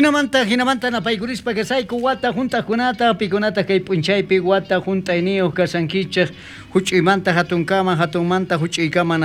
Jinamanta jinamanta napaykurispa kasayku wata junt'ajkunata, pikunata kay p'unchaypi wata junt'ayniyuq kasankichej, juch'uymanta hatunkama, hatunmanta juch'uykama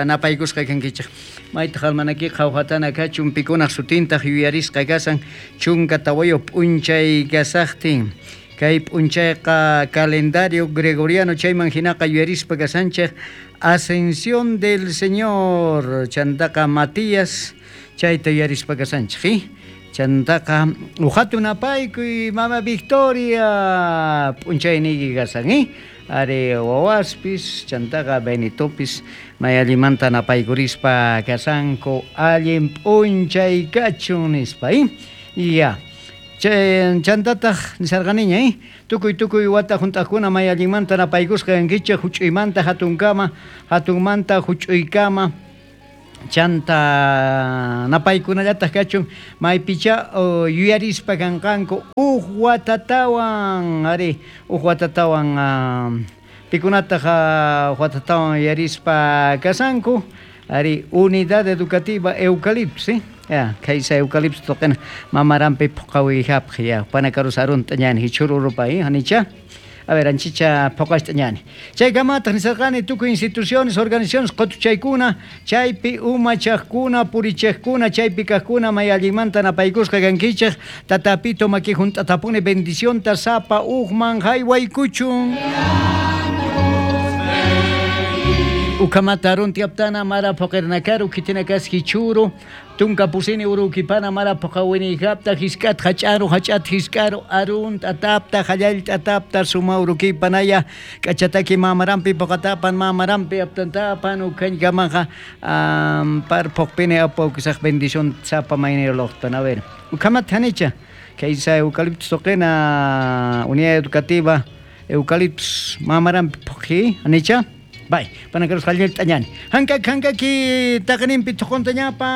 napaykusqa kankichej. Maytaq almanakiqa qhawjatana kachun, pikunaq sutintaq yuyarisqa kasan 14 p'unchay kasaqtin. Kay p'unchayqa calendario gregoriano chayman hinaqa yuyarispa kasanchej Ascensión del Señor, chantaqa Matías chayta yuyarispa kasanchej. Chantaqa uqatu napaykuy mama Victoria p'unchayniyki kasan, Ari wawaspis chantaqa Benitopis may allimanta napaykurispa kasanku allin p'unchay kachun nispa, Ya. Chantataq nisarqaniña, tukuy tukuy wata junt'aqkuna may allinmanta napaykusqa kankichej juch'uymanta hatunkama, hatunmanta juch'uykama. Chanta napaykunallataq kachun maypicha yuyarispa kanqanku uj watatawan, ari uj watatawan pikunataq uj watatawan yuyarispa kasanku, ari Unidad Educativa Eucaliptus, ya kaysa Eucaliptus toqena mamarampi puqawihapaq ya panakarus arunta ñani hichururupa hanicha. A ver, anchicha phoqashta ñani. Chaykamataq nisarqani tukuy instituciones, organizaciones qutuchaykuna, chaypi umachaqkuna, purichaqkuna, chaypi kaqkuna may allinmanta napaykusqa kankichej, tatapito maki junt'atapuni bendicionta sapa uqman haywaykuchun. Ukamata aruntiaptana mara phoqirnakaru kitinakas hichuru, tunka pusini urukipana mara phoqawinijapta hisk'at hach'aru hach'at hisk'aru arun t'atapta hallall t'atapta suma urukipanaya k'achataki mamarampi phoqatapan mamarampi aptantapan ukanykamaqa par phoqpini apawkisaq bendición sapa mayniroloqtan. A ver, ukamata hanicha kaysa eucaliptus toqena unidad educativa eucaliptus mamarampi phoqi hanicha. Bay, panakarus hallel t'añani. Hankak hankaki taqninpi thuquntañapa.